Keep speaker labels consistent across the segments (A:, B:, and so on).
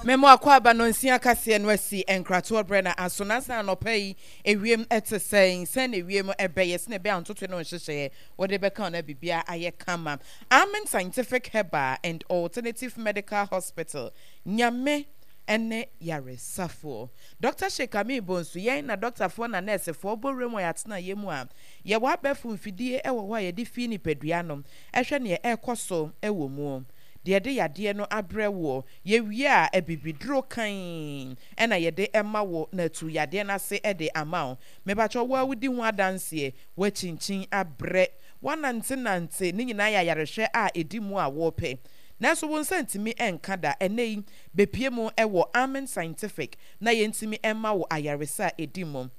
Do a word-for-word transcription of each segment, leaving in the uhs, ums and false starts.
A: Memo akɔ no nsia kaseɛ no asi nkratoɔ brɛ na aso na san anɔpa yi ewiem ɛte sɛn sɛn na ewiem ɛbɛyɛ sɛ na ɛbɛyɛ antoto no nhyehyɛeɛ wɔde bɛka na bibia ayɛ kama. Amen Scientific Herbal and Alternative Medical Hospital, Nyame ɛne yaresafoɔ Doctor Sheikh Amin Bonsu yɛn na doctorfoɔ na nursefoɔ bɔ wuram wɔ yɛatena yɛ mu a yɛwɔ abɛɛfo mfidie ɛwɔ hɔ a yɛde fi nipadua no ɛhwɛ neɛ ɛrekɔ so ɛwɔ mu, deɛ yɛde yadeɛ no abrɛ woɔ. Yɛwie a, abibiduro kan ɛna yɛde ɛma wo na atu yadeɛ no ase ɛde ama wo. Mebakyɛ wo a wodi ho adanseɛ, woakyinkyin abrɛ, woanantenante ne nyinaa yɛ ayarehwɛ a ɛdi mu a wɔrepɛ, nanso wo nsa ntumi nka da. Ɛnɛ yi bepie mu ɛwɔ Amen Scientific na yɛntumi ɛma wo ayaresa a ɛdi mu.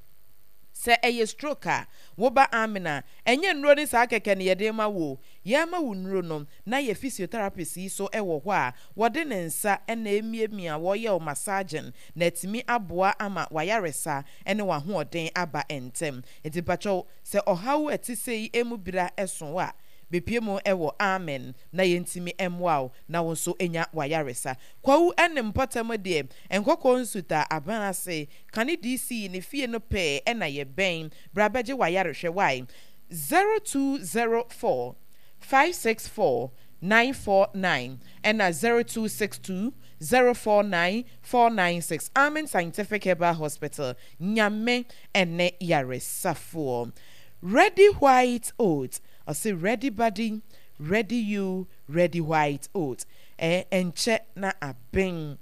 A: Sɛ ɛyɛ stroke a, woba Amen a, ɛnyɛ nnuro ne saa kɛkɛ ne yɛde ma wo. Yɛma wo nnuro no na yɛ physiotherapist yi so ɛwɔ hɔ a wɔde ne nsa ɛna emiamia, wɔyɛ wo massaging na ɛtumi aboa ama wayaresa ɛne w'ahoɔden aba ntɛm. Nti mpakyɛw, sɛ ɔhaw ɛte sɛ yi emu bira ɛso a, bepie mu ɛwɔ Amen na yɛntumi ɛmmoa wo na wo nso enya wayaresa. Kwawu ɛne mpɔtam deɛ, Nkɔkɔɔ Nsuta aban ase kane D C ne fie no pɛɛ ɛna yɛbɛn. Bra bɛgye wayarehwɛ wae. zero two zero four five six four nine four nine ɛna zero two six two zero four nine four nine six. Amen Scientific Herbal Hospital, Nyame ɛne yaresafoɔ. Ready White Oat, ɔse ready body, ready you. Ready White Oat ɛ ɛnkyɛ na abɛn.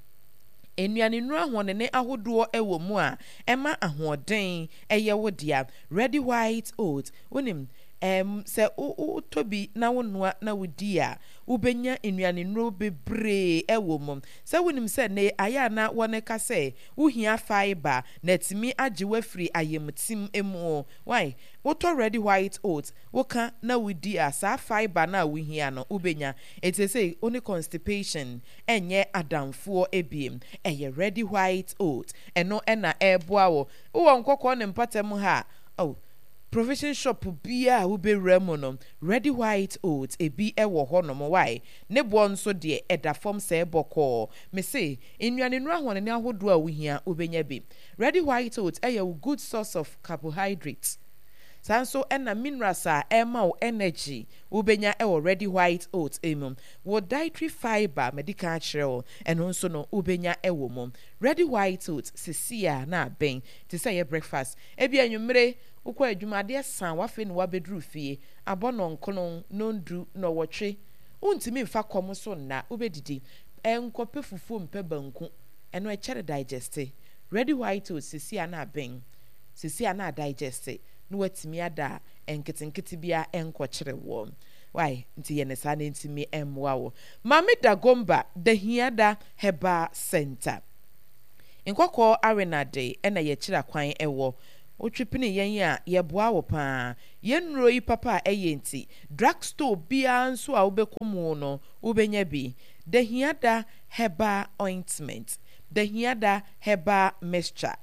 A: Nnuane nnuro ahoɔdene ahodoɔ ɛwɔ mu a ɛma ahoɔden ɛyɛ wo dea. Ready White Oat, wonim ɛm sɛ wotɔ bi na wonoa na wodi a, wobɛnya nnuane nnuro bebree ɛwɔ mu. Sɛ wonim sɛ ne ayɛ a na wɔne ka sɛ wohia fibre na atumi agye wafiri ayamtim mu wai. Wotɔ Ready White Oat, woka na wodi a, saa fibre na a wohia no wobɛnya. Ɛti sɛ wo ne constipation ɛnyɛ adamfoɔ ebiem. Ɛyɛ Ready White Oat, ɛno ɛna ɛɛboa wo. Wowɔ Nkɔkɔɔ ne mpɔtam ha a, oh, provision shop biara a wobɛwura mu no, Ready White Oat ebi ɛwɔ hɔnom wae. Ne boɔ nso deɛ, ɛda fam sɛ bɔkɔɔ. Mese nnuane nnuro ahoɔden ahodoɔ a wohia, wobɛnya bi. Ready White Oat ɛyɛ wo good source of carbohydrate. Saa nso ɛna minerals a ɛma wo energy, wobɛnya ɛwɔ Ready White Oat mu. Wo dietary fibre, madi kan akyerɛ wo, ɛno nso no wobɛnya ɛwɔ mu. Ready White Oat sisi a na abɛn te sɛ yɛ breakfast. Ebi anwummere wokɔ adwuma, adeɛ san wafei na wabɛduru fie abɔ nɔnkono nondu nɔwɔtwe, wontumi mfa kɔm so nna. Wobɛdidi, ɛnkɔpɛ fufuo mpɛ banku, ɛno ɛkyɛre digest. Ready White Oat sisi a na abɛn, sisi a na digest na watumi ada a nketenkete bia ɛnkɔkyere wɔ wai. Nti yɛ ne saa na ntumi mmoa wo. Maame Dagomba Dahiada Herbal Center, Nkɔkɔɔ Awenade ɛna yɛkyerɛ akwan ɛwɔ. Wotwe pene yɛn a, yɛboa wo paa. Yɛn nnuro yi papa a ɛyɛ nti, drug store biara nso a wobɛkɔ mu no, wobɛnya bi. Dahiada Herbal Ointment, Dahiada Herbal Mixture,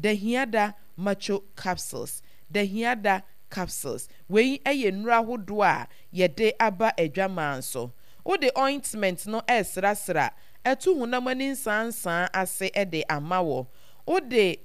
A: Dahiada Macho Capsules, Dahiada Capsules, wei yɛ nnuro ahodoɔ a yɛde aba adwaman so. Wode ointment no ɛresrasra ɛto honam ani nsansan ase de ama wɔ. Wode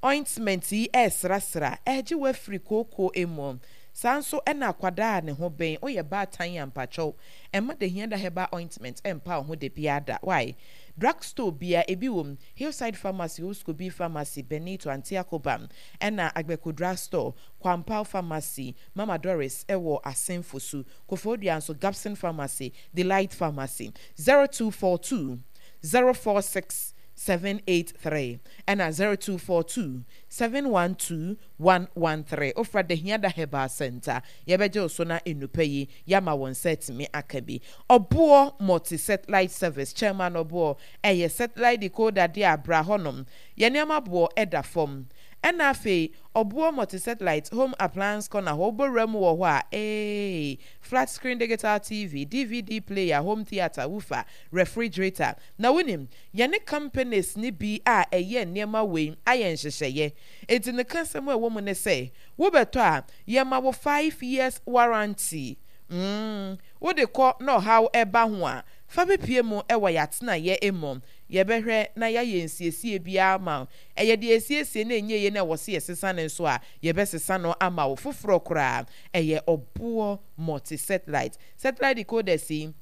A: ointment yi ɛresrasra ɛregye wafiri kooko mu. Saa nso ɛna akwadaa a ne ho bɛn woyɛ baatan a, mpakyɛw, ɛma Dahiada Herbal Ointment ɛmpa wo ho de biara wai. Drugstore bia ebi wɔ mu: Hillside Pharmacy, Oskobi Pharmacy, Benito Antiakobam, ɛna Agbeko Drugstore, Kwampao Pharmacy, Mama Doris ɛwɔ Asenfo so, Kofodua nso Gapson Pharmacy, Delight Pharmacy. zero two four two zero four six seven eight three ɛna zero two four two seven one two one one three. Ofra Dahiada Herbal Center, yɛbɛgye wo so na enupa yi yɛama wɔn nsa atumi aka bi. Ɔboɔ Multi Satellite Service chairman Ɔboɔ, ɛyɛ satellite decoder de abra hɔnom. Yɛn nneɛma boɔ ɛda fam. Ɛna afei Ɔboɔ Multi Satellite Home Appliance Corner hɔ, wobɔwura mu wɔ hɔ a, ee, flat screen digital T V, D V D player, home theatre, woofer, refrigerator. Na wonim yɛne companies ne bi a ɛyɛ nneɛma wei ayɛ nhyehyɛeɛ, eti ne kasɛm a ɛwɔ mu ne sɛ wobɛtɔ a, yɛma wo five years warranty. mm wode kɔ na ɔhaw ɛba ho a, fa bepie mu ɛwɔ yɛatenayɛ mu. Yɛbɛhwɛ na yɛayɛ nsiesie biara ama wo. Ɛyɛ deɛ esiesie na ɛnyɛ yie na ɛwɔ sɛ yɛsesa no nso a, yɛbɛsesa no ama wo foforɔ koraa. Ɛyɛ Ɔboɔ Multi Satellite. Satellite decoders yi,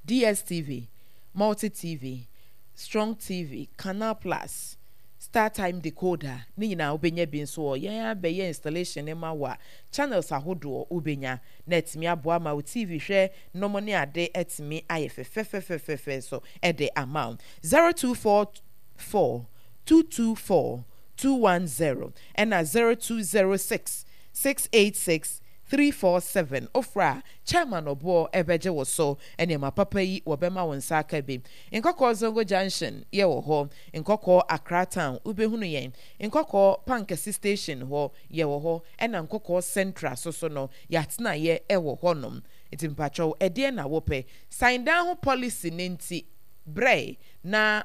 A: D S T V, Multi T V, Strong T V, Canal Plus, StarTime decoder ne nyinaa wobɛnya bi nso wɔ yɛn abɛyɛ installation ne ma wo a, channels ahodoɔ wobɛnya na ɛtumi aboa ma wo T V hwɛ nom ne ade ɛtumi ayɛ fɛfɛfɛfɛfɛ so ɛde ama wo. zero two four four two two four two one zero ɛna zero two zero six six eight six three four seven. Ofra Chairman Ɔboɔ ɛbɛgye wo so. Nneɛma papa yi wɔbɛma wo nsa aka bi. Nkɔkɔɔ Zongo Junction yɛwɔ hɔ, Nkɔkɔɔ Accra Town wobɛhunu yɛn, Nkɔkɔɔ Pankɛse Station hɔ yɛwɔ hɔ, ɛna Nkɔkɔɔ Central so so no yɛatenayɛ ɛwɔ hɔnom. Nti mpakyɛw, ɛdeɛ na wopɛ sign dan ho policy ne nti brɛ na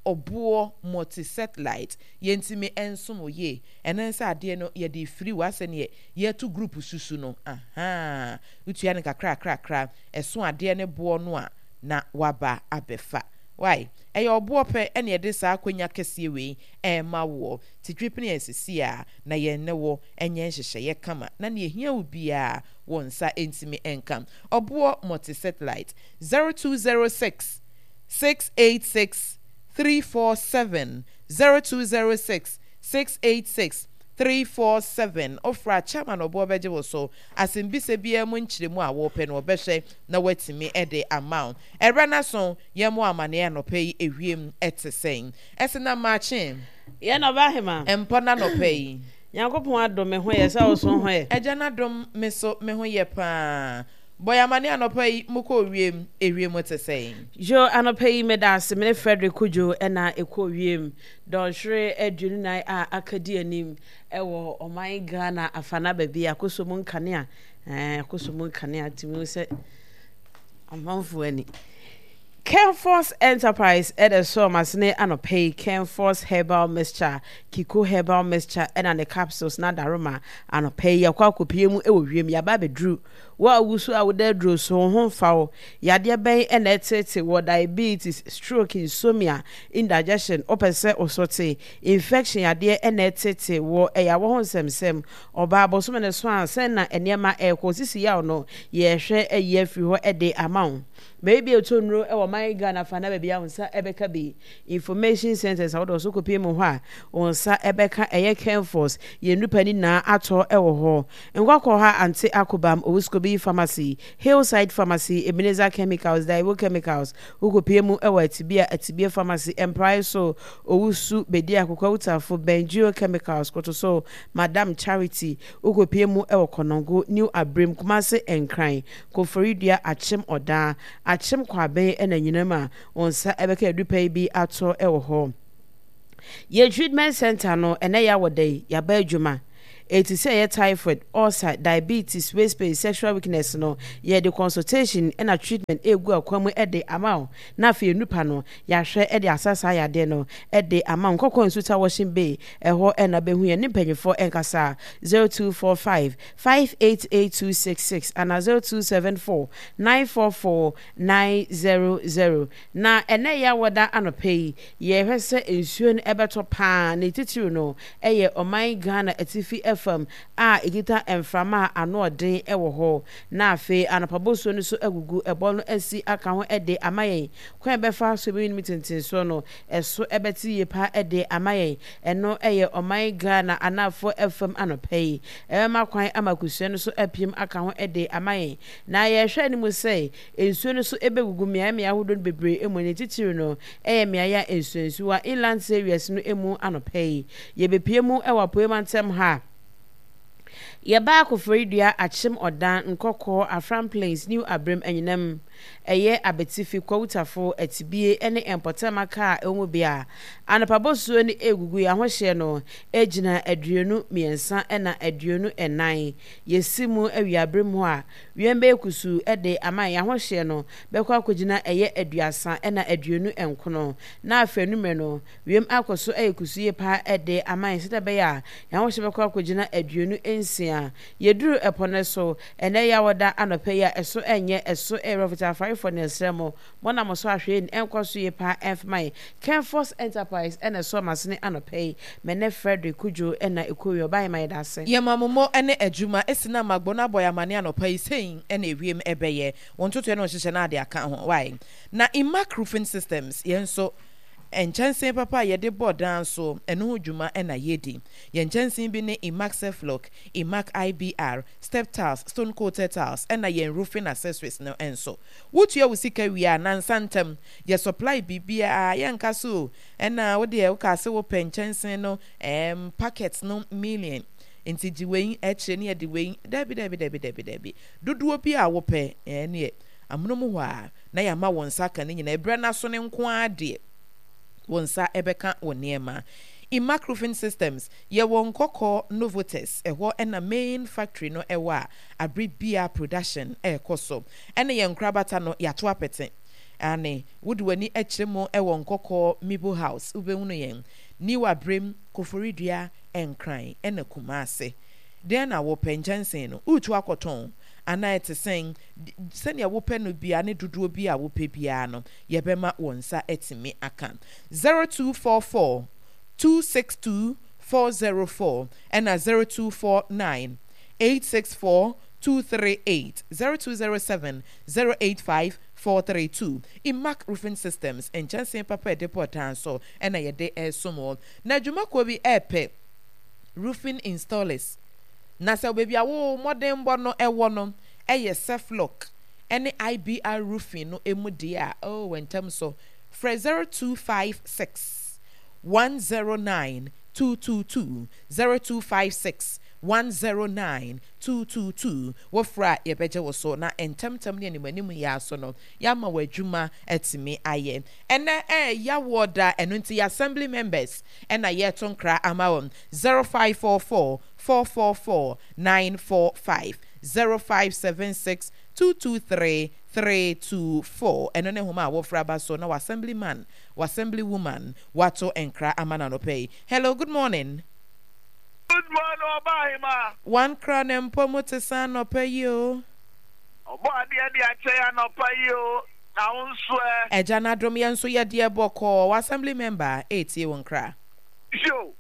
A: Ɔboɔ Multi Satellite yɛntumi nsom wo yie. Ɛno nsa adeɛ no yɛde firi w'asɛ neɛ yɛto group susu no aha, wotua no kakrakrakra ɛso adeɛ ne boɔ no a na waba abɛfa. Wai, ɛyɛ Ɔboɔ pɛ ɛne yɛde saa akonnwa kɛseɛ wei ɛɛma woɔ. Titwi pene asisi a na yɛn ne wɔ ɛnyɛ nhyehyɛeɛ kama na nea ehia wo biara wɔ nsa ntumi nka. Ɔboɔ Multi Satellite, zero two zero six six eight six three four seven, zero two zero six six eight six three four seven. Ofra Chairman Ɔboɔ bɛgye wo so. Asɛmbisa biara mu nkyerɛmu a wɔpɛ no, wɔbɛhwɛ na watumi de ama wo. Ɛberɛ no so yɛn mo amanneɛ anɔpɛ yi, ewiem ɛte sɛn? Ɛsɛ na maakye.
B: Yɛn ɔba hema.
A: Mpɔ na anɔpɛ yi.
B: Nyankopɔn adom, me ho yɛ. Sɛ wo so ho yɛ?
A: Ɛgya n'adom, me so me ho yɛ paa. Bɔyɛ amanneɛ anɔpɛ yi, mokɔ wiem, ewiem te sɛn?
B: Yo, anɔpɛ yi meda ase. Mene Frederick Kojo ɛna ɛkɔ wiem. Dɔnhwere aduonu nan a aka di anim ɛwɔ ɔman Ghana afana baabi akoso mu nkanea, ɛɛ akoso mu nkanea tumi sɛ amanfoɔ ani. Kenforce Enterprise ɛde so ɔmasene anɔpɛ yi. Kenforce Herbal Mixture, Kiko Herbal Mixture ɛna ne capsules na daroma anɔpɛ yi akɔ akɔpie mu ɛwɔ wiem. Yaba abɛduru wo a wusu a woda aduro so wo ho mfa wo. Yadeɛ bɛn ɛna ɛtete wɔ? Diabetes, stroke, insomnia, indigestion, wopɛ sɛ wosote infection, yadeɛ ɛna ɛtete wɔ, ɛyɛ awɔ ho nsɛmsɛm, ɔbaa bɔsome ne so a sɛn na nneɛma ɛrekɔ sisi yaw no, yɛhwɛ ayi afiri hɔ ɛde ama wo. Baabi a ɛtɔ nnuro ɛwɔ man Ghana fa na baabi a wo nsa ɛbɛka bi, information centers ahodoɔ so kɔpie mu hɔ a wo nsa ɛbɛka ɛyɛ Kenforce. Yɛn nnipa nyinaa atɔ ɛwɔ hɔ. Nkɔkɔ ha Ante Akobam, Owuskobi Pharmacy, Hillside Pharmacy, Ebenezer Chemicals, Daiwo Chemicals. Wokɔpie mu ɛwɔ Atibia, Atibia Pharmacy, Mprae so Owusu Bedi Akokɔ Wutafo, Bengio Chemicals, Koto so Madam Charity. Wokɔpie mu ɛwɔ Kɔnɔngo, New Abirem, Kumase, Nkran, Koforidua, Akyem Ɔdaa, Akyem Kwabɛn ɛna nyinam a wɔn nsa ɛbɛka adupa yi bi atɔ ɛwɔ hɔ. Yɛ treatment center no, ɛnɛ yɛ awɔ da yi yaba adwuma. Eti sɛ ɛyɛ typhoid, ulcer, diabetes, waist pain, sexual weakness no, yɛde consultation ɛna treatment egu akwan mu ɛde ama wo, na afei nipa no yɛahwɛ ɛde asa saa yadeɛ no ɛde ama wo. Nkɔkɔ Nsuta Washing Bay ɛhɔ ɛna bɛhu yɛn ne mpanyinfoɔ ɛnkasa. zero two four five five eight eight two six six ana zero two seven four nine four four nine zero zero. Na ɛnɛ yɛ awɔda anɔpɛ yi, yɛhwɛ sɛ nsuo no ɛbɛtɔ paa. Ne titiri no ɛyɛ ɔman Ghana atifi fam a ɛkita mframa a ano ɔden ɛwɔ hɔ, na afei anɔpa bosuo no so agugu ɛbɔ no asi aka ho ɛde ama yɛn. Kwan bɛfa so ebi nim tentensoɔ no ɛso ɛbɛte yie paa ɛde ama yɛn. Ɛno ɛyɛ ɔman Ghana anafoɔ fam. Anɔpɛ yi ɛbɛma kwan ama kusua no so apiem aka ho ɛde ama yɛn, na yɛhwɛ anim sɛ nsuo no so ɛbɛgugu mmeaeɛ mmeaeɛ ahodoɔ no bebree mu. Ne titiri no ɛyɛ mmeaeɛ a nsuonsuwa, inland areas no mu. Anɔpɛ yi yɛbɛpie mu ɛwɔ apuei mantam ha. Yɛbaa Koforidua, Akyem Ɔdan, Nkɔkɔɔ, Afram Plains, New Abrem, Anyinam, ɛyɛ Abetifi, Kwawutafo, Atibie ne mpɔtam aka a ɛwɔ mu bea anɔpa bosuo no egugu. Yɛn ahohyɛ no gyina aduonu mmiɛnsa ɛna aduonu nnan. Yɛsi mu awiabere mu a wiem bɛyɛ kusuu de ama yɛn. Ahohyɛ no bɛkɔ akɔgyina ɛyɛ aduasa ɛna aduonu nkono, na afei anummerɛ no wiem akɔ so ɛyɛ kusuu yie paa de ama yɛn sɛdeɛ ɛbɛyɛ a yɛn ahohyɛ bɛkɔ akɔgyina aduonu nsia. Yɛduru ɛpɔ no so ɛnɛ yɛ awɔda anɔpɛ yi a ɛso ɛnyɛ ɛso ɛyɛ rɔfita. Afarefoɔ ne ɛsrɛ mo mo na mo so ahwɛ ɛnkɔ so yie paa ɛmfama yɛ Kenfos Enterprise ɛna ɛsɔ masene anɔpɛ yi. Mene Frederick Kudwo ɛna ɛkɔwie ɔbaayɛ ma yɛda ase.
A: Yɛma mo mo ne adwuma esi na magbɔ no abɔ yɛ amane anɔpa yi sɛn ɛna ewiem ɛbɛyɛ wɔn ntotoɛ no nhyehyɛ no ade aka ho wae. Na Imac Roofing Systems yɛn nso nkyɛnsee papa a yɛde bɔ dan so ɛno ho dwuma ɛna yɛdi. Yɛn nkyɛnsee bi ne Imac Ceflock, Imac I B R, step tiles, stone coated tiles, ɛna yɛn roofing accessories no nso. Wotua wo sika wie a, nansa ntam yɛ supply biribiara. Yɛnka so ɛna wodeɛ woka sɛ wopɛ nkyɛnsee no ɛɛm packet no million nti gye wei akyire ne yɛde wei. Dabi, dabi, dabi, dabi, dabi, dodoɔ bi a wopɛ ɛneɛ amonom hɔ a na yɛama wɔn nsa aka ne nyinaa. Ɛberɛ no so ne nko ara deɛ wɔn nsa ɛbɛka wɔ nneɛma. Imac Roofing Systems, yɛwɔ Nkɔkɔ Novotes, ɛhɔ ɛna main factory no ɛwɔ a abere bia production ɛrekɔ so. Ɛna yɛn nkorabata no yɛato apɛte ane wode w'ani akyerɛ mu ɛwɔ Nkɔkɔ Mibo House, wobɛhunu yɛn New Abrem, Koforidua, Nkran ɛna Kumase. Deɛ na wopɛ nkyɛnsee no woretu akɔtɔn anaa ɛte sɛn, sɛnea wopɛ no bia ne dodoɔ bi a wopɛ biara no, yɛbɛma wɔn nsa atumi aka. zero two four four two six two four zero four ɛna zero two four nine eight six four two three eight, zero two zero seven zero eight five four three two. Imac Roofing Systems, nkyɛnsee papa ɛde bɔ dan so ɛna yɛde ɛresom wɔ. Na adwumakuo bi ɛɛpɛ roofing installers, na sɛ baabi a wo mmɔdenbɔ no ɛwɔ no ɛyɛ Ceflock ɛne I B R roofing no emu deɛ a, oh, wɔntɛm so frɛ zero two five six one zero nine two two two, zero two five six one zero nine two two two. Wɔfrɛ a, yɛbɛgye wo so na ntɛmtɛm ne anim anim yɛ aso no yɛama wɔ adwuma atumi ayɛ. Ɛnɛ ɛyɛ yawoɔ da, ɛno nti yɛ assembly members ɛna yɛto nkra ama wɔn. zero five four four four four four nine four five, zero five seven six two two three three two four. Ɛno ne homa a wɔfrɛ aba so na wɔ assembly man, wɔ assembly woman wato nkra ama no anɔpɛ yi. Hello, good morning.
C: Good morning, Ɔbaahema.
A: One kra ne mpɔ mu te sa anɔpɛ yi o.
C: Ɔbɔ adeɛ de akyɛ yɛ anɔpa yi o. Na wo nso ɛ?
A: Ɛgya n'adom, yɛn nso yɛdeɛ bɔkɔɔ. Wɔ assembly member etie wo nkra.
C: Yo,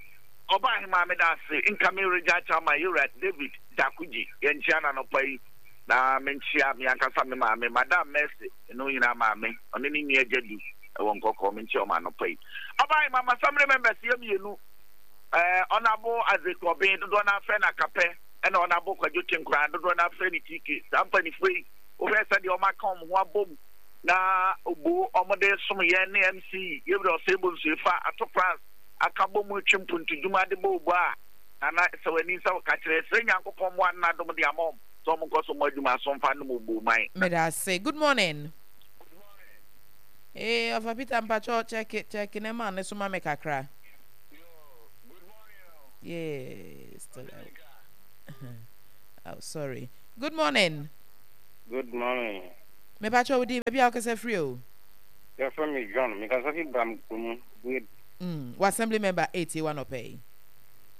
C: Ɔbaahema, meda ase. Nka me regya akyɛ ama yɛwura David Dakuji. Yɛnkyia no anɔpa yi. Na menkyia me ankasa me maame, Madam Mercy, ɛno nyinaa maame, ɔne ne nua Gyadu ɛwɔ Nkɔkɔɔ, menkyia ɔma anɔpa yi. Ɔbaahema, ma assembly members yɛ mmienu. Ɛɛ Ɔnabo Isaac Ɔben, dodoɔ no afrɛ no Akapɛ, ɛna Ɔnabo Kwadwo Tenkora, dodoɔ no afrɛ no T K. Saa mpanimfoɔ yi, wohwɛ sɛdeɛ ɔmo aka ɔmo ho abom na obo ɔmo de som yɛn ne M C yɛwura Ɔsɛe Bonsuefa Ato France aka bɔ mu twe mpuntudwuma de bɔ obo a nana sɛ w'ani nsa wɔka kyerɛ srɛ Nyankopɔn mmoa no n'adom de ama ɔm sɛ ɔmo nkɔ so mmɔ adwuma so mfa nom obo man.
A: Meda ase. Good morning. Ee, Ɔfa Peter, mpakyɛ check check ne ma ne so ma me kakra. Yeah, still out. Oh, sorry. Good morning.
D: Good morning.
A: Mepakyɛ wo din, baabi a wokasa firi o?
D: Yɛfrɛ me John. Mekasa fi Bram kurom. Bued.
A: Mm, wɔ assembly member etie wa nɔpɛ yi.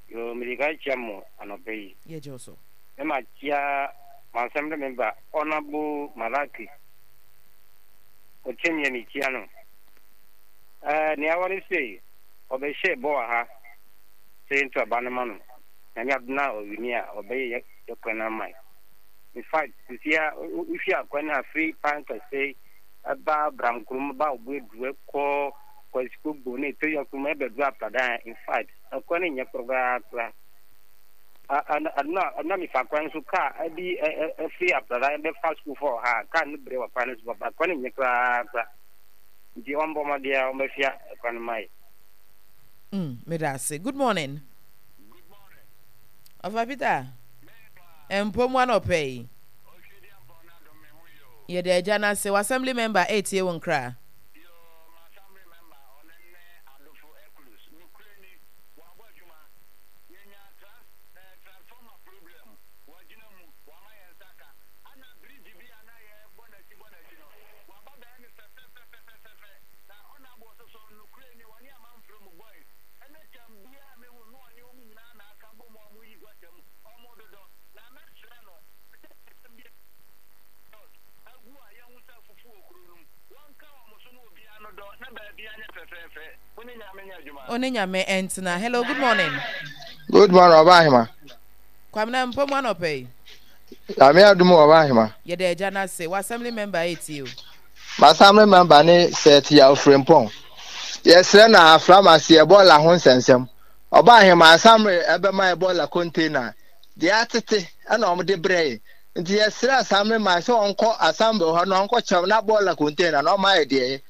D: Yo, mede ka kyia mo anɔpɛ yi.
A: Yɛgye wo so.
D: Na makyia mo assembly member, Honorable Malaki. Ɔkyɛm yɛ mekyia no. Ɛɛ nea wɔre sei, ɔbɛhyɛ bɔ wɔ ha sɛ yɛnto aba no ma no. Nyame adom na ɔwini a, ɔbɛyɛ yɛ kwan ama yɛ. In fact, sisi a wohwɛ akwan a firi pan kɛse ɛba Bram kurom ba Obuedu ɛkɔ Kwasikogbo ne Etoya kurom ɛbɛduru Apradan, in fact, ɛkwan no nyɛ koraa koraa. Adona adona mefa kwan so kaa ɛbi ɛfiri Apradan ɛbɛfa sukuu fɔ ha, kaa no brɛ wɔ kwan no so papa, kwan no nyɛ koraa koraa. Nti ɔmbɔ mmɔden a ɔmbɛfia kwan no ma yɛ.
A: Mm, meda ase. Good morning. Ɔfa Peter. Mpɔ mu anɔpɛ yi. Yɛde agya no ase. Wɔ assembly member etie wo nkra.
E: Yo, ma assembly member ɔne ne Adofo Eklus. Nokorɛ ni, wabɔ adwuma. Yɛnya trans, eh, transformer problem. Wagyina mu, wama yɛn nsa ka. Ana bridge bi a na yɛbɔ n'akyi bɔ n'akyi no, waba bɛyɛ no fɛfɛfɛfɛfɛ. Na ɔna abɔ so so, nokorɛ ni, ɔne amanfrɛ mu boys. Ɛne tam biara mehu no, ɔne wɔn nyinaa na aka bɔ mu a wɔyi gutter mu. Ɔmo dodɔ. Na mɛsrɛ no, sɛ asɛm bi agu a yɛhu sɛ fufuo fɛfɛɛfɛ. Wo ne Nyame nyɛ adwuma.
A: Wo ne Nyame ntena. Hello, good morning.
F: Good morning, Ɔba Ahema.
A: Kwamina mpɔ mu anɔpa yi.
F: Nyame adum Ɔba Ahema.
A: Yɛda agya no ase. Wɔ assembly member etie o.
F: M'assembly member ne Seth Yaw Frimpong. Yɛsrɛ na aframa se Ebola ho nsɛnsɛm. Ɔba Ahema assembly ɛbɛma Ebola container deɛ atete ɛna wɔn de brɛ yɛ. Nti yɛsrɛ assembly man sɛ ɔnkɔ assembly hɔ na ɔnkɔ kyɛw na bɔɔla container na ɔma yɛ deɛ yɛ.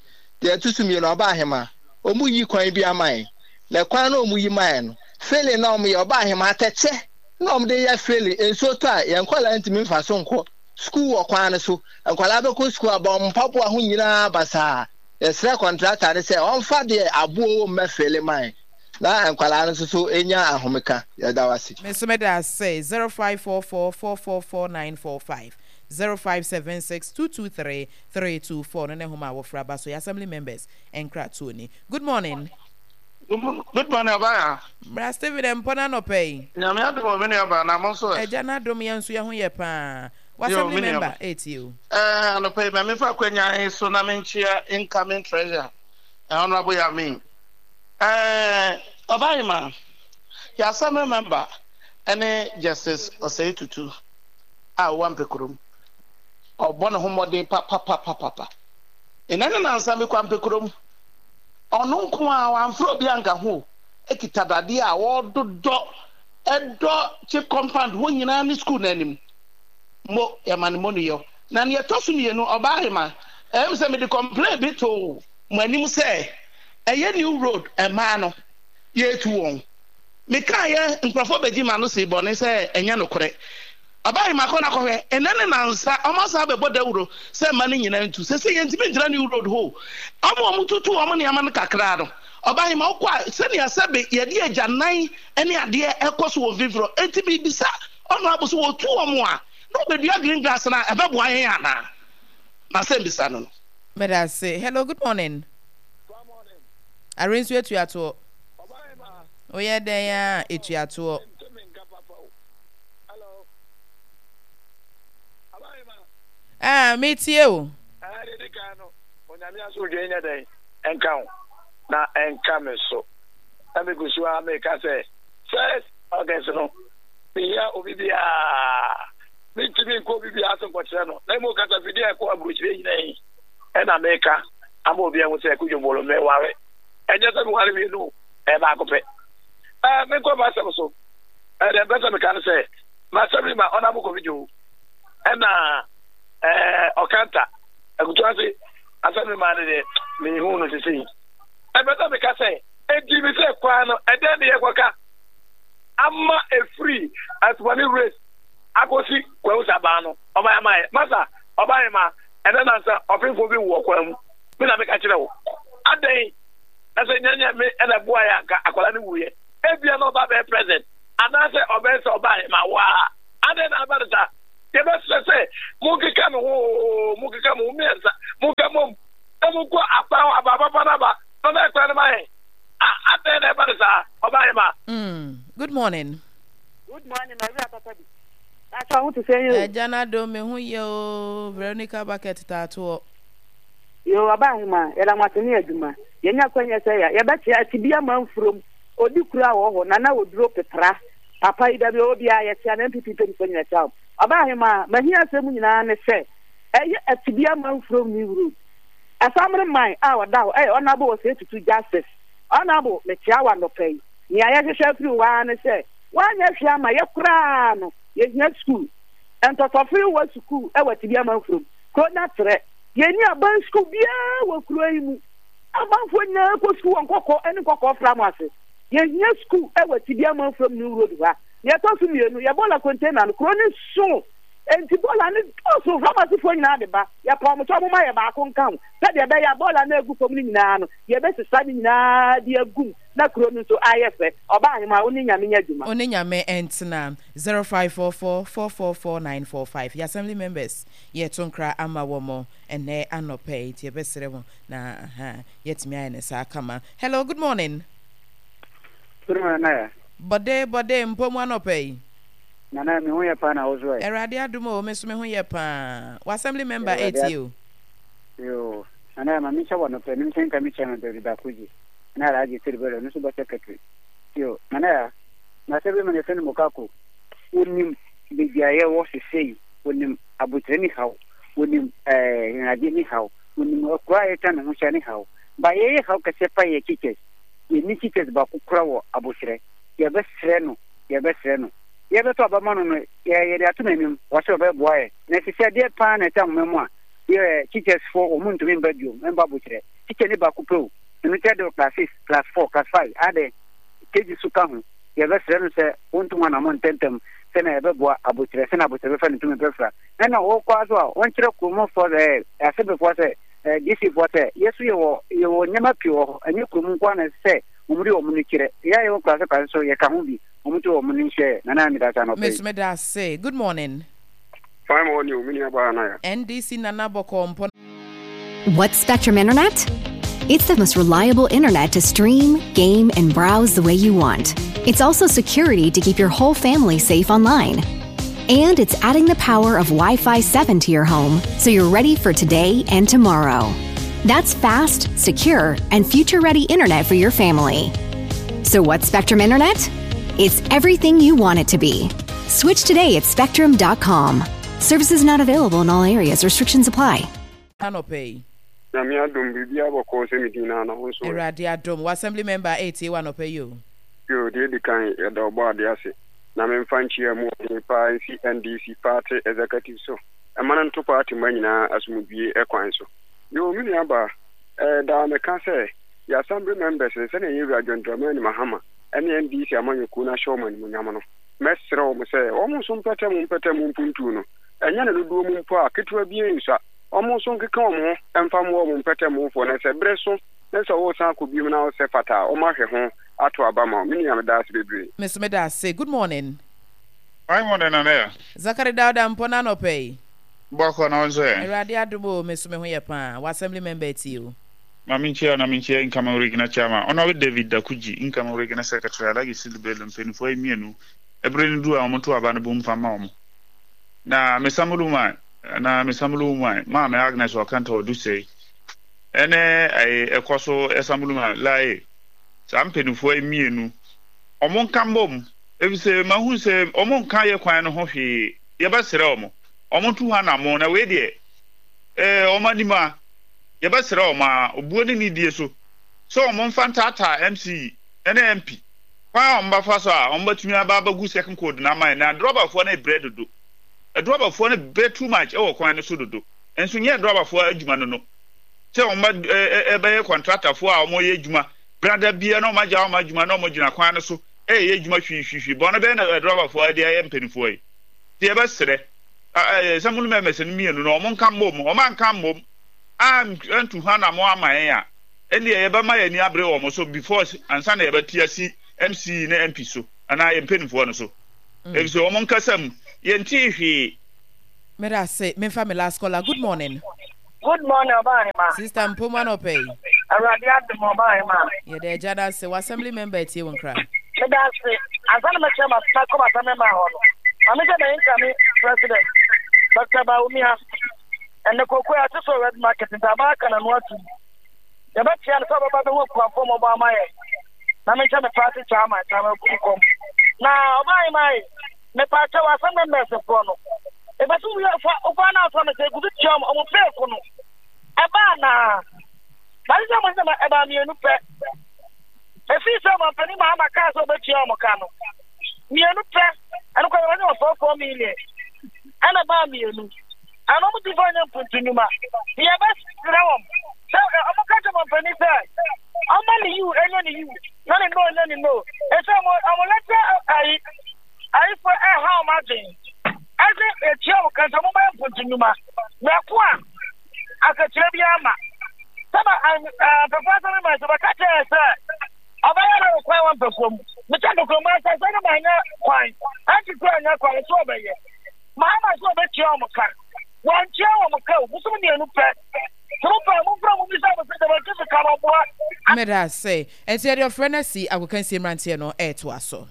F: Deɛ ɛto so mmienu ɔba ahema ɔmu yi kwan bi ama yɛn na kwan na ɔmu yi ma yɛn no filling na ɔmu yɛ ɔba ahema atɛkyɛ na ɔmu de yɛ filling nsuo tɔ a yɛn nkwadaa ntumi nfa so nkɔ sukuu wɔ kwan no so nkwadaa bɛkɔ sukuu aba ɔmo mpaboa ho nyinaa basaa yɛsrɛ kɔntrata no sɛ ɔmfa deɛ aboɔ wɔ mu mɛfele ma yɛn na nkwadaa no nso so nya ahomeka yɛda wase.
A: Me nso meda ase zero five four four four four four nine four five zero five seven six two two three three two four no ne nhoma a wɔfra ba so yɛ assembly members nkratoɔ ni. Good morning.
G: Good morning, Ɔbaa.
A: Bra Stephen mpɔ no anɔpa yi.
G: Nyame adom o, me nua baa na mo nso ɛ.
A: Agya no adom yɛn nso yɛn ho yɛ paa. W'assembly member etie o.
G: Ɛɛ anɔpa yi ma memfa akwanya yi so na menkyea incoming treasurer Honourable Yamin. Ɛɛ Ɔbaa yɛ assembly member ɛne Justice Osei Tutu a ɔwɔ Ampekurom. Ɔbɔ ne ho mmɔden papapapapa. Nnɛ ne nansa mekɔ Ampekurom. Ɔno nko a wamfrɛ obi anka ho ekita dadeɛ a ɔdodɔ ɛdɔ chip compound hɔ nyinaa ne school n'anim mo yɛma ne mo no yɛ na nea ɛtɔ so mmienu ɔbaa ahema ɛyɛ sɛ mede complain bi to mo anim sɛ ɛyɛ new road mmaa no yɛtu wɔn meka yɛ nkurɔfoɔ bɛgye ma no si bɔne sɛ ɛnyɛ nokorɛ ɔbaa ahema kɔ na kɔhwɛ ɛnɛ ne nansa ɔmo asan bɛbɔ dawuro sɛ mma no nyinaa ntu sɛ sɛ yɛntumi ngyina new road hɔ ɔmo ɔmo tutu ɔmo nneɛma no kakra no ɔbaa ahema wokɔ a sɛnea sɛbe yɛde agyanan ne adeɛ ɛkɔ so wɔ mfimfini enti biribisa ɔno abo so wɔtu wɔn a na ɔbɛdua green grass na ɛbɛboa yɛn anaa na sɛ mbisa no no.
A: Meda ase. Hello, good morning. Are nso etuatoɔ. Woyɛ dɛn a etuatoɔ. Ah, metie o.
C: Onyame asomdwe nyɛ dɛn ɛnka wo na ɛnka me so na megu so a meka sɛ first August no mehia obi biaa mentumi nkɔ obi biaa so nkɔkyerɛ no na mmom kasafidie a ɛkɔ aburokyerɛ nyina yi ɛna meka ama obi ahu sɛ Kudwo meware ɛnyɛ sɛ meware mmienu ɛyɛ baako pɛ ɛɛ menkɔ m'asɛm so ɛdeɛ mpɛ sɛ meka no sɛ m'asɛm ni ma ɔnabo kɔfidwo ɛna ɛɛ ɔkanta akutu ase asɛm ma no deɛ mehu no sesei ɛpɛ sɛ meka sɛ enti me sɛ kwan no ɛdɛn ne yɛkɔka ama ɛfiri asomane race akɔsi kwawu sabaa no ɔma ama yɛ masa ɔba ma ɛnɛ nansa ɔpemfoɔ bi wɔ kwan mu me na meka kyerɛ wo adɛn na sɛ nyɛnyɛ me ɛna boa yɛ anka akwadaa no wuyɛ ebia na ɔba bɛyɛ president anaasɛ ɔbɛyɛ sɛ ɔba ma waa adɛn na aba no saa yɛbɛsrɛ sɛ monkeka mo ho monkeka mo ho mmiɛnsa monka mom na monkɔ akwan hɔ aba papa no aba na ɔbɛyɛ kwan no ma yɛn adɛn na ɛba no saa ɔba yɛ ma.
A: Good morning.
H: Good morning, Maria Papa bi. That's ho te sɛ yo.
A: Ɛgya na do me ho yɛ o Veronica bucket taatoɔ.
H: Yo ɔba ahema yɛda mo ase ne adwuma. Yɛnya kwanya sɛ ya yɛbɛkyea ati bi ama mfurom. Odi kura wɔ hɔ na na oduro pepra. Papa yi da bi ɔwɔ biara yɛkyea na N P P mpanyinfoɔ nyina kyea wo. Ɔba ahema mahia asɛm nyinaa ne sɛ ɛyɛ ati bi ama mfurom new road. Asamre man a ɔda hɔ ɛyɛ ɔnabo wɔ sɛ tutu justice. Ɔnabo mekyea wa nɔpa yi. Nea yɛhwehwɛ afiri hɔ ara ne sɛ woanyɛ hwee ama yɛ koraa no yɛhia sukuu. Ntɔtɔfere wɔ sukuu ɛwɔ ati bi ama mfurom. Kuro na trɛ. Yɛnni aban sukuu biara wɔ kuro yi mu. Abanfoɔ nyinaa kɔ sukuu wɔ nkɔkɔɔ ne nkɔkɔɔ fra mu ase. Yɛhia sukuu ɛwɔ ati bi ama mfurom new road hɔ a. Nea ɛtɔ so mmienu, yɛ bɔɔla container no, kuro ne so. Enti bɔɔla no dɔɔso, pharmacyfoɔ nyinaa de ba. Yɛpa wɔn kyɛ wɔn ma yɛ baako nka ho. Sɛdeɛ ɛbɛyɛ a bɔɔla no agu fam no nyinaa no, yɛbɛsesa ne nyinaa de agu mu na kuro no nso ayɛ fɛ. Ɔbaa ahema, wo ne Nyame nyɛ adwuma.
A: Wo ne Nyame ntena. zero five four four four four four nine four five Yɛ assembly members yɛto nkra ama wɔn ɛnnɛ anɔpa yi nti yɛbɛsrɛ mo na aha yɛatumi ayɛ no saa kama. Hello, good morning.
I: Good morning, Nana.
A: Bɔde bɔde mpo mu anɔpa yi.
I: Nana, me ho yɛ paa na wo so ɛ.
A: Awurade adom o, me nso me ho yɛ paa. Wɔ assembly member etie o.
I: Yo, Nana ma menhyɛ wɔ nɔpɛ no nhyɛ nka me chairman David Bakuji. Na Alhaji Sidi Bello no nso bɔ secretary. Yo, Nana ya, na sɛ bi ma ne fɛ no Mokako, wonim baabi a yɛwɔ sesei, wonim abotire ne haw, wonim ɛɛ hinagye ne haw, wonim akura a yɛtwa ne ho hyɛ ne haw. Ba yɛyɛ haw kɛseɛ pa yɛ teachers. Yɛni teachers baako kora wɔ abotire. Yɛbɛsrɛ no, yɛbɛsrɛ no. Yɛbɛtɔ abama no no, yɛ yɛde ato n'anim, wɔsɛ ɔbɛboa yɛ. Na sisi adeɛ paa na ɛta ahoma mu a, yɛ teachers fo wɔn ntumi mba bio, mba abotire. Teacher ne baako pɛ o. Ɛno kyɛ de class six, class four, class five, adɛ KG so ka ho. Yɛbɛsrɛ no sɛ wɔntu ho anammɔ ntɛmntɛm sɛnea yɛbɛboa abotire, sɛnea abotire bɛfa ne ntumi bɛfra. Ɛna wɔkɔ so a wɔnkyerɛ kuromfoɔ sɛ asɛmfoɔ sɛ D C foɔ sɛ yɛso yɛwɔ yɛwɔ nneɛma pii wɔ hɔ, ɛnyɛ kurom nko ara na ɛsɛ sɛ wɔn de wɔn no kyerɛ. Yɛ a yɛwɔ kurase kurase so yɛka ho bi, wɔn to wɔn no nhyɛ. Nana, mi da sa anɔpɛ yi.
A: Meso meda ase. Good morning.
J: Fine morning o, me nua baa Naya.
A: N D C Nana Bɔkɔ Mpɔ.
K: What's Spectrum Internet? It's the most reliable internet to stream, game, and browse the way you want. It's also security to keep your whole family safe online. And it's adding the power of Wi Fi seven to your home so you're ready for today and tomorrow. That's fast, secure, and future ready internet for your family. So, what's Spectrum Internet? It's everything you want it to be. Switch today at spectrum dot com. Services not available in all areas. Restrictions apply.
A: Anɔpɛ yi.
J: Nyame adom, biribiara bɔkɔɔ sɛ medin no ana wo nso ɛ?
A: Awurade adom. Wɔ assembly member ɛretie wɔ anɔpɛ yi o.
J: Yo, deɛ ɛdi kan, yɛda ɔbɔ ade ase na memfa nkyia mu ɔden paa nsi N D C party executive so ɛma no nto party ma nyinaa asomdwie ɛkwan so. Yo, me nua baa, ɛɛ daa meka sɛ yɛ assembly members no, sɛnea yɛwura John Dramani Mahama ɛne N D C amanyɔkuo no ahyɛ wɔn animuonyam no, mɛsrɛ wɔn sɛ wɔn nso mpɛtɛ mu mpɛtɛ mu mpuntuo no, ɛnyɛ ne dodoɔ mu mpo a ketewa bi nsa, wɔn nso nkeka wɔn ho mfa mmoa wɔn mpɛtɛ mufoɔ no sɛ berɛ so ne sɛ wɔresan akɔ biom na wɔsɛ fata a wɔn ahwɛ ho ato aba ma wo. Me nua, meda ase bebree.
A: Meso meda ase. Good morning.
L: Fine morning, Nana.
A: Zakari Dauda Mpɔ na anɔpɛ yi.
L: Bɔkɔ na nso ɛ.
A: Awurade adom o, meso me ho yɛ paa. Wɔ assembly member tie o.
L: Maame nkyia na menkyia incoming regional chairman Honorable David Dakuji, incoming regional secretary Alhaji Sidi Bello, mpanimfoɔ yi mmienu ɛberɛ no du a wɔn to aba no bu mfa ma wɔn. Na mesamulu man na mesamulu man maame Agnes Ɔkanta Ɔdusei ɛne ɛyɛ ɛkɔ so ɛsamulu man lae saa mpanimfoɔ yi mmienu wɔn nka mbom efisɛ mahu sɛ wɔn nka yɛ kwan no ho hwee. Yɛbɛsrɛ wɔn wɔn to hɔ anamo na wei deɛ ɛɛ wɔn anim a yɛbɛsrɛ wɔn a obuo ne nidie so sɛ wɔn mfa ntaataa M C ɛne M P kwan a wɔn bɛfa so a wɔn bɛtumi aba abɛgu second coat na ama yɛn na drɔbafoɔ no brɛ dodo. Drɔbafoɔ no brɛ too much ɛwɔ kwan no so dodo, nso nyɛ drɔbafoɔ adwuma no no sɛ wɔn bɛ ɛɛ ɛbɛyɛ kɔntratafoɔ a wɔyɛ adwuma brada bia na wɔn agya wɔn adwuma na wɔn gyina kwan no so ɛyɛ adwuma hwihwihwi bɔn bɛyɛ na drɔbafoɔ de ayɛ mpanimfoɔ yi te. Yɛbɛsrɛ ɛɛ sɛ mo mɛmɛsɛ no mmienu no wɔn nka mbom, wɔn anka mbom antu hɔ anamo ama yɛn a, ɛnneɛ yɛbɛma yɛn ani abere wɔn so before ansa na yɛbɛte asi M C ne M P so anaa yɛn mpanimfoɔ no so, efisɛ wɔn nkasa mu yɛntee hwee.
A: Meda ase. Memfa me last caller. Good morning.
M: Good morning, Ɔbaahema.
A: Sister Mpomu, anɔpɛ yi.
M: Awurade adom, Ɔbaahema.
A: Yɛda agya no ase. Wɔ assembly member tie wo nkra.
M: Meda ase. Ansa na mɛkyerɛ ma makɔ assembly man hɔ no, maame sɛ bɛyɛ nkame president Doctor Bawumia. Ɛnɛ koko a ɛte so red market nti aba aka n'ano atum. Yɛbɛkyea no sɛ ɔbɛba bɛhu akuafoɔ mmɔbɔ ama yɛn. Na menkyɛ me party chairman, chairman Kumkɔm. Na Ɔbaahema yi, mepaakyɛ wɔ assembly members foɔ no. Ebɛsi wo fa wofa na asɔ me sɛ egugu tua ɔmo ɔmo feeko no ɛbaa naa mate sɛ mo sɛ ɛbaa mmienu pɛ efii sɛ ɔmampanin Mahama kaa sɛ ɔbɛtua ɔmo ka no mmienu pɛ. Ɛno kɔ yɛwɔ nyɛ four four million ɛna ɛbaa mmienu ɛna ɔmo ti fɔ nyɛ mpuntu nnwuma. Yɛbɛsrɛ wɔn sɛ ɔmo ka kyerɛ ɔmampanin sɛ ɔma ne yiw ɛnyɛ ne yiw na ne no ɛnyɛ ne no ɛsɛ ɔmo ɔmo lɛtɛ ayi ayifo ɛha ɔmo adwene ɛsɛ etua wo kansa mo bɛyɛ mpuntu nnwuma mɛko a akakyerɛ bi ama sɛba mpɛfo asɛm ma sɛ bɛka kyerɛ sɛ ɔbɛyɛ dɛ kwan wɔ mpɛfo mu mekyɛ mpɛfo mu asɛ sɛ ne ma nyɛ kwan anti kura nyɛ kwan so ɔbɛyɛ Mahama sɛ ɔbɛtua wɔn ka, wɔntua wɔn ka o bosom mmienu pɛ sɛ mo pɛ mo fura mo bisa mo sɛ dɛbɛnti sika no ɔboa.
A: Meda ase. Ɛnti yɛde ɔfrɛ no asi agokansie mmeranteɛ no ɛretoa so.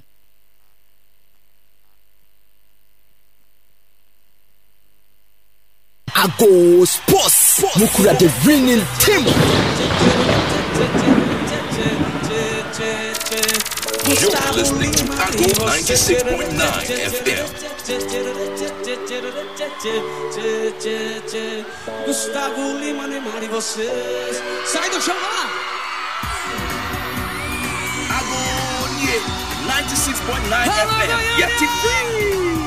N: Ago Sports, mukura the winning team.
O: You're listening to Ago ninety-six point nine F M.
P: Gusttavo Lima, Neymar e vocês. Sai do chão, vai lá!
O: Ago ninety-six point nine F M. Yeti free.